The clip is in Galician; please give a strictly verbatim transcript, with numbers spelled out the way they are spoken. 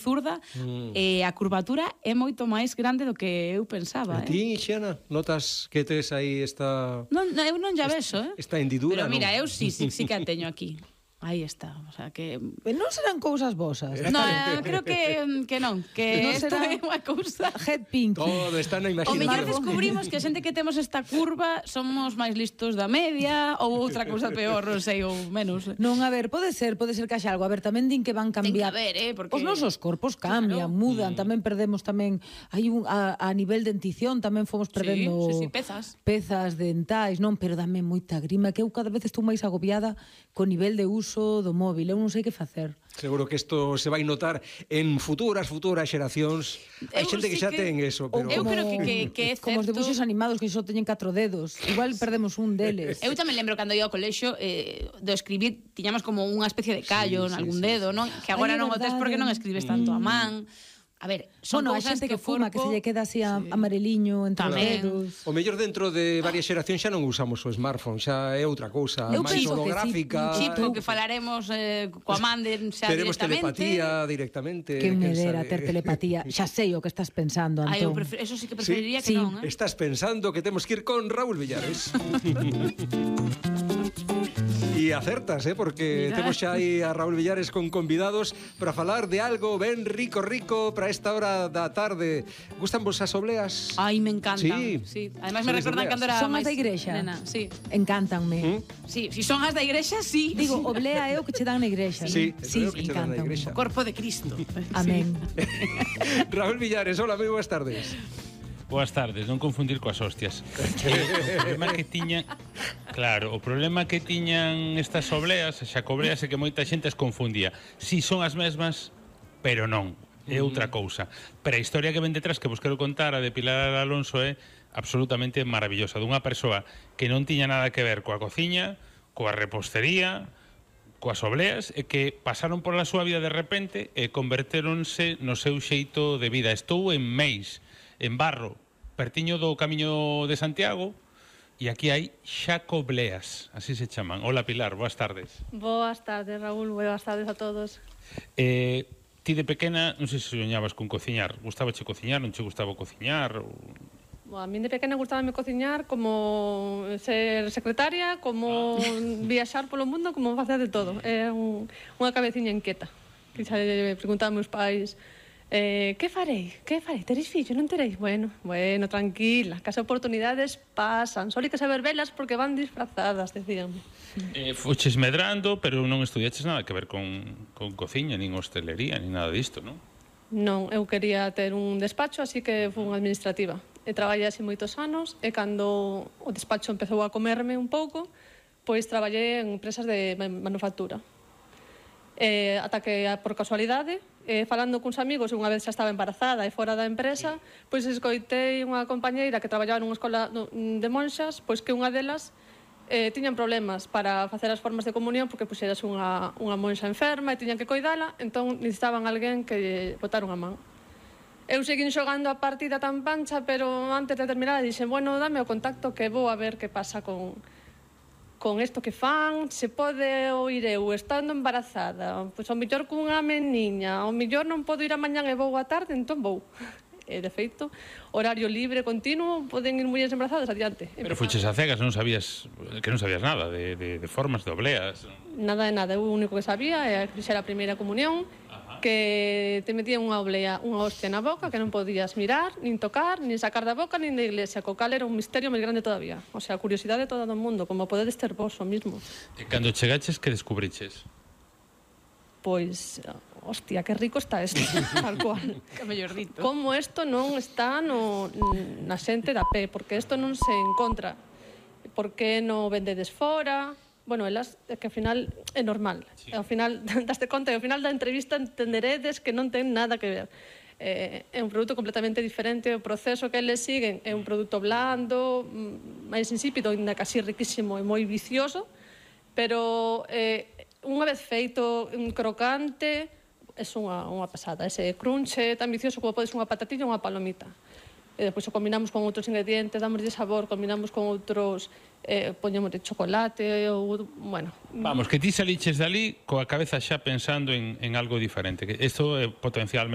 zurda, mm. e a curvatura é moito máis grande do que eu pensaba. E ti, Xiana, notas que tes aí esta... Non, eu non ya vexo, eh? Esta hendidura, pero mira, non? eu sí, sí, sí que a teño aquí. Aí está, o sea que... Non serán cousas vosas. No, eh, creo que, que non, que non isto é unha cousa... Head pink. Todo está na O mellor imaginación. descubrimos que a xente que temos esta curva somos máis listos da media ou outra cousa peor, non sei, ou menos. Non, a ver, pode ser, pode ser que haxa algo. A ver, tamén din que van cambiar. Ten que haber, eh, porque... Os nosos corpos cambian, claro. mudan, mm. tamén perdemos tamén... Hai un, a, a nivel de dentición tamén fomos perdendo... Sí, sí, sí, pezas. Pezas dentais, non, pero dame moita grima, que eu cada vez estou máis agobiada co nivel de uso do móvil. Eu non sei que facer. Seguro que isto se vai notar en futuras, futuras xeracións. Hai xente que xa ten eso, pero... Eu creo que, que, que é certo... Como os debuxos animados que só teñen catro dedos. Igual perdemos un deles. Eu tamén lembro cando ia ao colexio, eh, do escribir, tiñamos como unha especie de callo sí, en algún sí, dedo, sí, non? Que agora Ay, non o tes porque non escribes tanto a man. A ver, son bueno, cousas xente que, que fuma, corpo... que se lle queda así sí. amareliño entre tamén. os dedos. O mellor dentro de varias xeracións xa non usamos o smartphone, xa é outra cousa, Eu máis holográfica. Sí, chip, que falaremos eh, coa man de, xa Teremos directamente. telepatía directamente. Que me dera ter telepatía. Xa sei o que estás pensando, Antón. Ay, eu prefer... Eso sí que preferiría sí, que sí. non, eh? Estás pensando que temos que ir con Raúl Villares. E acertas, eh, porque Mira. temos xa aí a Raúl Villares con convidados para falar de algo ben rico, rico para esta hora da tarde. Gustan vos as obleas? Ai, me encantan. Sí. sí. Ademais me recordan cando era son as máis da igrexa. Nena, sí. Encántanme. ¿Mm? Sí, si son as da igrexa, sí. Digo, oblea é o que che dan na igrexa. Sí, sí, é o que che dan na igrexa. O corpo de Cristo. Amén. Raúl Villares, hola, moi boas tardes. Boas tardes, non confundir coas hostias. O problema que tiñan, claro, o problema que tiñan estas obleas, xa cobreas, é que moita xente as confundía. Si son as mesmas, pero non, é outra cousa. Pero a historia que ven detrás que vos quero contar, a de Pilar Alonso, é absolutamente maravillosa, dunha persoa que non tiña nada que ver coa cociña, coa repostería, coas obleas, e que pasaron pola súa vida de repente e convertéronse no seu xeito de vida. Estou en Meis, en Barro, pertiño do Camiño de Santiago, e aquí hai xacobleas, así se chaman. Hola, Pilar, boas tardes. Boas tardes, Raúl, boas tardes a todos. Eh, ti de pequena, non sei se soñabas con cociñar. Gustaba che cociñar, non che gustaba cociñar? Ou... Bueno, a mí de pequena gustábame cociñar, como ser secretaria, como ah. viaxar polo mundo, como facer de todo. É un, unha cabeciña inquieta. Que xa preguntaba meus pais... Eh, que farei? Que farei? Tereis fillo? Non tereis? Bueno, bueno, tranquila, que as oportunidades pasan. Só hai que saber velas porque van disfrazadas, decíanme. Eh, fuches medrando, pero non estudiaches nada que ver con, con cociña, nin hostelería, nin nada disto, non? Non, eu quería ter un despacho, así que fui unha administrativa. E traballei así moitos anos, e cando o despacho empezou a comerme un pouco, pois traballei en empresas de manufactura. Eh, ata que, por casualidade, eh, falando cuns amigos, unha vez xa estaba embarazada e fora da empresa, pois escoitei unha compañeira que traballaba nunha escola de monxas, pois que unha delas eh, tiñan problemas para facer as formas de comunión porque puxeras unha, unha monxa enferma e tiñan que coidala, entón necesitaban alguén que botara unha man. Eu seguín xogando a partida tan pancha, pero antes de terminar dixen, bueno, dame o contacto que vou a ver que pasa con... con isto que fan, se pode oír eu estando embarazada, pois ao mellor cunha meniña, ao mellor non podo ir a mañán e vou a tarde, entón vou. E, de feito, horario libre continuo, poden ir mulleres embarazadas adiante. Pero fuches a cegas, non sabías, que non sabías nada de, de, de formas, de obleas. Nada de nada, o único que sabía é que fixera a primeira comunión, que te metían unha oblea, unha hostia na boca que non podías mirar, nin tocar, nin sacar da boca, nin da iglesia, co cal era un misterio máis grande todavía. O sea, a curiosidade de todo o mundo, como podedes ter vos o mismo. E cando chegaches, que descubriches? Pois, hostia, que rico está isto, tal cual. Que mellor dito. Como isto non está no, na xente da pé, porque isto non se encontra. Por que non vendedes fora? Bueno, elas, que ao final é normal. Sí. Ao final, daste conta, e ao final da entrevista entenderedes que non ten nada que ver. Eh, é un produto completamente diferente, o proceso que eles siguen é un produto blando, máis insípido, ainda casi riquísimo e moi vicioso, pero eh, unha vez feito un crocante, é unha, unha pasada. Ese crunch é tan vicioso como podes unha patatilla ou unha palomita. E depois o combinamos con outros ingredientes, damos de sabor, combinamos con outros, eh, poñemos de chocolate ou, bueno... Vamos, que ti saliches dali coa cabeza xa pensando en, en algo diferente, que isto é potencialmente